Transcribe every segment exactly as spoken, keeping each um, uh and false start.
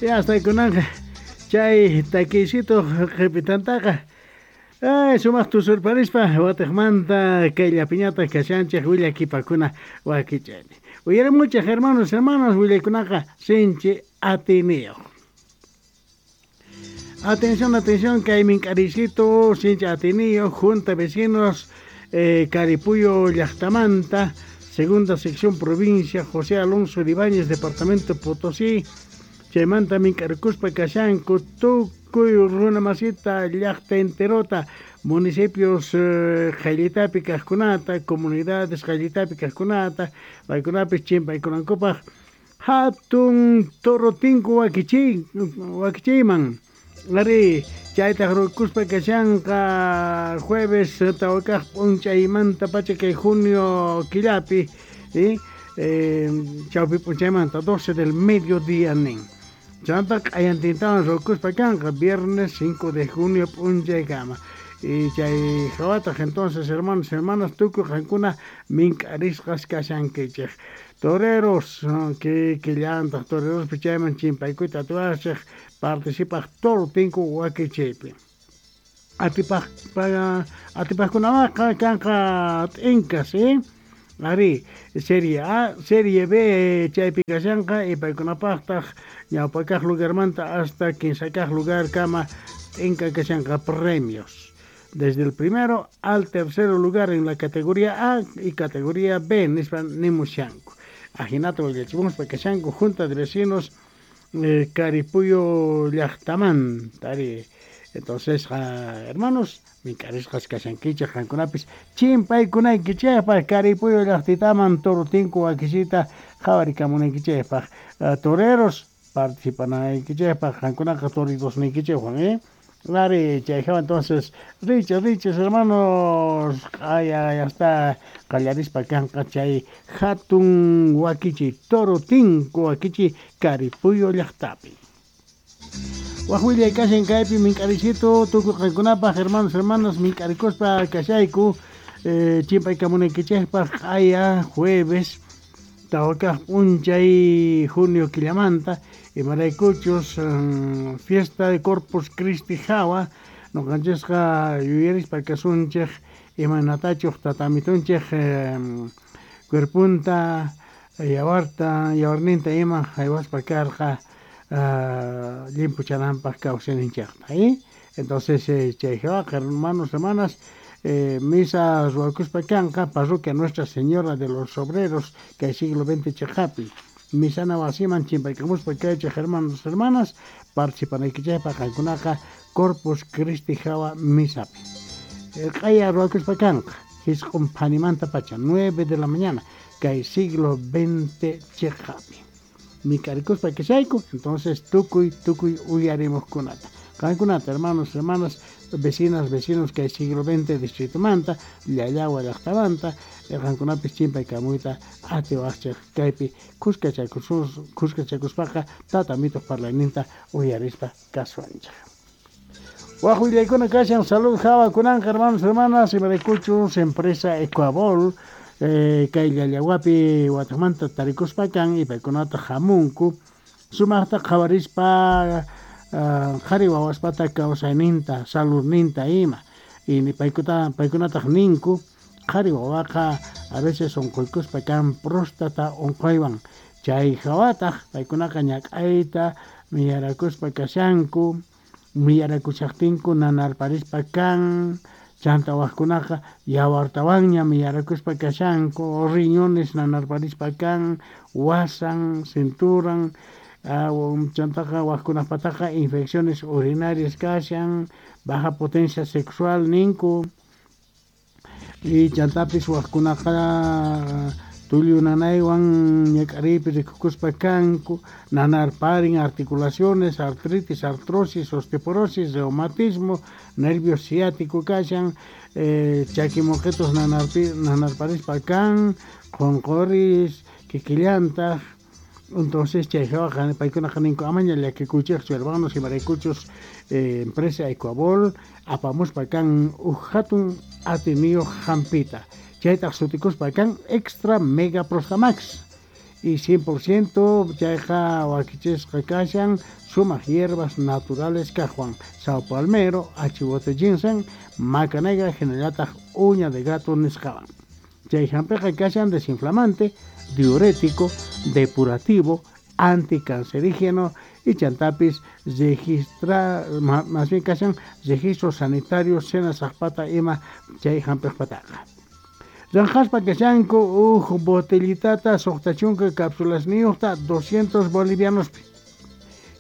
Ya hasta kunanqa chay takiysitu qhipitantaqa ay sumaq tusurparispa watiqmanta kayllapiñataq kashanchik willakipakuna wakichaypi. Uyarimuchik hermanos, hermanas, willaykunaqa sinchi atiniyuq. Atención, atención, kay mink'ariysitu sinchi atiniyuq junta vecinos eh, Caripuyo llaqtamanta, segunda sección provincia José Alonso de Ibáñez, departamento Potosí. Chaymanta mink'arikuspa kashanku tukuy runa masita llaqta enterota, municipios eh, qayllitapi kaqkunata, comunidades qayllitapi kaqkunata, paykunapis chimpaykunankupaq hatun toro tinku wakichiy wakichiyman. Arí, chaytaq rukuspa kashanqa jueves tawa kaq p'unchaymanta pacha kay junio killapi, eh, eh, chawpi p'unchaymanta doce del mediodía nin. Chanta q'ayantintawan rukuspa kanqa viernes cinco de junio p'unchaykama. Y chay hawataq entonces hermanos, hermanas, tukuy qankuna mink'arisqas kashankichik. Toreros que killantaq torerospi chayman chimpaykuyta atiwachik participaq toro tinku wakichiypi. Atipaq atipaqkunawanqa kanqa t'inkas, eh? Arí, Serie A, Serie B chaypi kashanqa y paykunapaqtaq ñawpa kaq lugarmanta hasta kinsa kaq lugar kama t'inka kashanqa premios. Desde el primero al tercero lugar en la categoría A y categoría B nispa nimushanku. Ajinata willachimuspa kashanku junta de vecinos eh, Caripuyo llaqtamanta. Arí. Entonces, uh, hermanos, mink'arisqas kashankichik qankunapis chimpaykunaykichikpaq Caripuyo llaqtitaman toro tinku wakisita qhawarikamunaykichikpaq. Uh, toreros participanaykichikpaq qankunaqa toritosniykichikwan, eh? Arí, chay hawa entonces, riches, riches, hermanos, q'aya ya está qallarispa kanqa chay hatun wakichi toro tinku wakichi Caripuyo llaqtapi. Waj willay kashan kaypi mink'arisitu tukuy qankunapaq hermanos, hermanas, mink'arikuspa kashayku eh, chimpaykamunaykichikpaq q'aya jueves tawa kaq p'unchay junio killamanta imaraykuchus um, fiesta de Corpus Christi hawa noqanchisqa yuyarispa kasunchik imaynatachuq tatamitunchik eh, cuerpunta yawarta yawarninta ima haywaspa karqa uh, llimpuchananpaq kawsayninchikta, eh? Entonces eh, chay hawaqa hermanos, hermanas, eh, misa ruwakuspa kanqa parroquia Nuestra Señora de los Obreros kay siglo veinte chiqapi. Misana wasiman chimpaykamuspa kaychik hermanos, hermanas, participanaykichikpaq qankunaqa Corpus Christi hawa misapi. Q'aya ruwakuspa kanqa hisq'un phanimanta pacha nueve de la mañana kay siglo veinte chiqapi. Mink'arikuspa kashayku, entonces tukuy tukuy uyarimuqkunata. Qankunata hermanos, hermanas, vecinas, vecinos kay siglo veinte distritomanta, Llallawa llaqtamanta, qankunapis chimpaykamuyta atiwaqchik kaypi kuskachakusus kuskachakuspaqa tatamituq parlayninta uyarispa kasuanchik. Waj willaykuna kashan salud hawa kunanqa hermanos, hermanas, imaraykuchus empresa Ecuabol eh, kay Llallawapi watiqmanta tarikuspa kan y paykunata hamunku sumaqta qhawarispa qhari wawaspata kawsayninta saludninta ima y paykuta paykunataq ninku qhari wawaqa a veces unquykuspa kan próstata unquywan chay hawataq paykunaqa ñak'ayta miyarakuspa kashanku miyarakushaqtinku nanarparispa kan chanta waqkunaqa yawartawanña miyarakuspa kashanku riñones nanarparispa kan wasan cinturan chantaqa waqkunapataqa infecciones urinarias kashan baja potencia sexual ninku y chantapis waqkunaqa tullu nanaywan ñak'ariypi rikukuspa kanku nanarparin articulaciones artritis artrosis osteoporosis reumatismo nervio ciático kashan eh, chaki moqitos nanarpi nanarparispa kan qunquris kikillantaq. Entonces chay hawa paykunaqa ninku amaña llakikuychikchu hermanos imaraykuchus eh, empresa Ecuabol apamuspa kan uj hatun atiniyuq hampita chaytaq sutikuspa kan extra mega prostamax Y cien por ciento chayqa wakichisqa kashan sumaq hierbas naturales kaqwan sao palmero, achiwote ginseng, maca negra hinallataq uña de gato nisqawan. Chay hampiqa kashan desinflamante, diurético, depurativo, anticancerígeno y chantapis registra más bien kashan registro sanitario senasaqpata ima chay hampiqpataqa. Ranjaspa kashanku uj botellitata suqta chunka cápsulasniyuqta doscientos bolivianospi.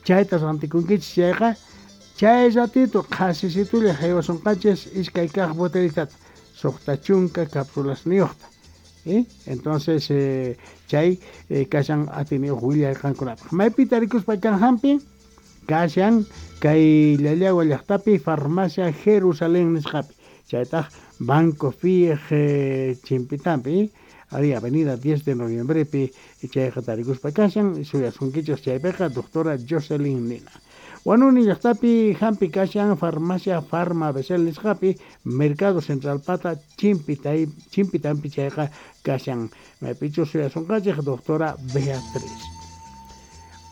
Chayta rantikunkichis chayqa chay ratito qhasisitulla haywasunqachis iskay kaq botellitata suqta chunka cápsulasniyuqta. ¿Eh? Entonces eh, chay eh, kashan atiniyuq willay qankunapaq. Maypi tarikuspa kan hampi kashan kay Llallagua llaqtapi farmacia Jerusalén nisqapi. Chaytaq Banco F I E G Chimpitampi, ari avenida diez de noviembrepi chayqa tarikuspa kashan suyasunkichis chaypiqa doctora Jocelyn Nina. Huanuni llaqtapi hampi kashan farmacia Farma Besel nisqapi Mercado Central pata Chimpitay Chimpitampi chayqa kashan maypichus suyasunqachik doctora Beatriz.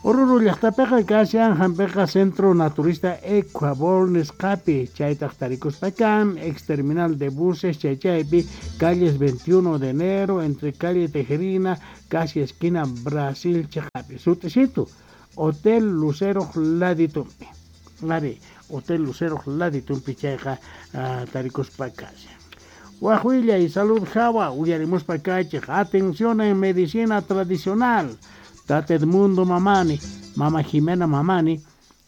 Oruro llaqtapiqa kashan hampiqa Centro Naturista Ecuabol nisqapi chaytaq tarikuspa kan ex terminal de buses chaychaypi calles veintiuno de enero entre calle Tejerina casi esquina Brasil chaqapi sutisitu Hotel Lucero Laditumpi. Ari Hotel Lucero Laditumpi chayqa uh, tarikuspa kashan. Waj y salud jawa uyarimuspa kaychik atención en medicina tradicional. Tata Edmundo Mamani, Mama Jimena Mamani,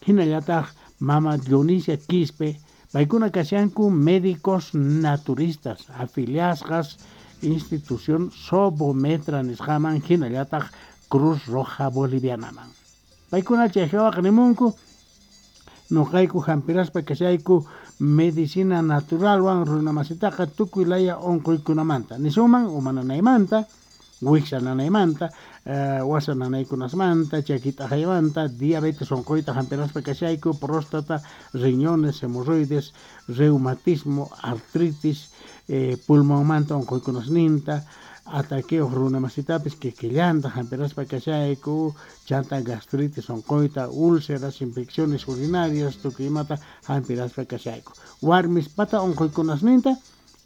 hinallataq Mama Dionisia Quispe, paykuna kashanku médicos naturistas, afiliasqas institución Sobometra nisqaman hinallataq Cruz Roja Bolivianaman. Paykuna chayjawaq nimunku, noqayku hampiraspa kashayku medicina naturalwan runamasitaqa tukuy laya unquykunamanta, nisuman umananaymanta, wiksa nanaymanta, uh, wasa nanaykunasmanta, chakit'ajaymanta, diabetes onqoyta hampiraspa kashayku, próstata, riñones, hemorroides, reumatismo, artritis, eh, pulmonmanta onqoykunasninta, ataqueos runamasitapis kikillanta hampiraspa kashayku, chanta gastritis onqoyta, úlceras, infecciones urinarias, tukuy imata hampiraspa kashayku. Warmispata onqoykunasninta,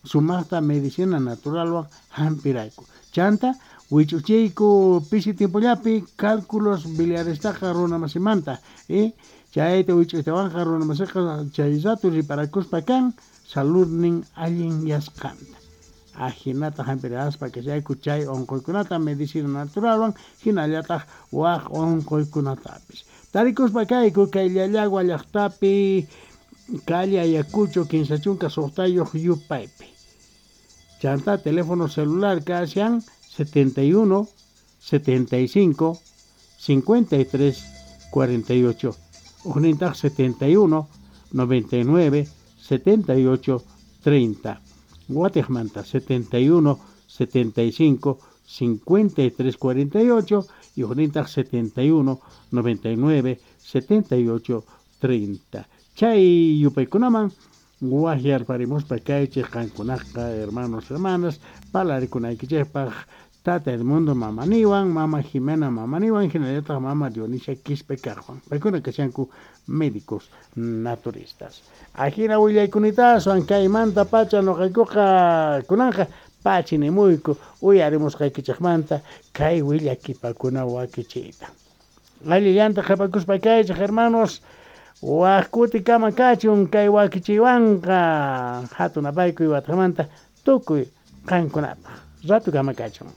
sumaqta medicina naturalwan hampirayku. Chanta wich'uchiyku pisi tiempollapi cálculos biliarestaqa runamasimanta, eh? Chayta wich'uytawanqa runamasiqa chay rato riparakuspa kan saludnin allin yasqanta. Ajinata hampiraspa kashayku chay unquykunata medicina naturalwan hinallataq waq unquykunatapis. Tarikuspa kayku kay Llallagua llaqtapi calle Ayacucho kinsa chunka suqtayuq yupaypi. Chanta teléfono celular kashan setenta y uno, setenta y cinco, cincuenta y tres, cuarenta y ocho. Ujnintaq setenta y uno, noventa y nueve, setenta y ocho, treinta. Guatejmanta setenta y uno, setenta y cinco, cincuenta y tres, cuarenta y ocho y ujnintaq setenta y uno, noventa y nueve, setenta y ocho, treinta. Chay yupaykunaman wajyarparimuspa kaychik qankunaqa hermanos hermanas palarikunaykichikpaq Tata Edmundo Mamaniwan, Mama Jimena Mamaniwan, hinallataq Mama Dionisia Quispe kaqwan. Paykuna kashanku médicos naturistas. Ajina willaykunitaaswan kaymanta pacha noqaykuqa kunanqa pachinimuyku uyarimusqaykichikmanta kay willakipakuna wakichiyta. Allillanta qhapakuspa kaychik hermanos. Waj kuti kama kachun kay wakichiwanqa hatun apaykuy watqamanta tukuy qankunapaq. Ratu kama kachun.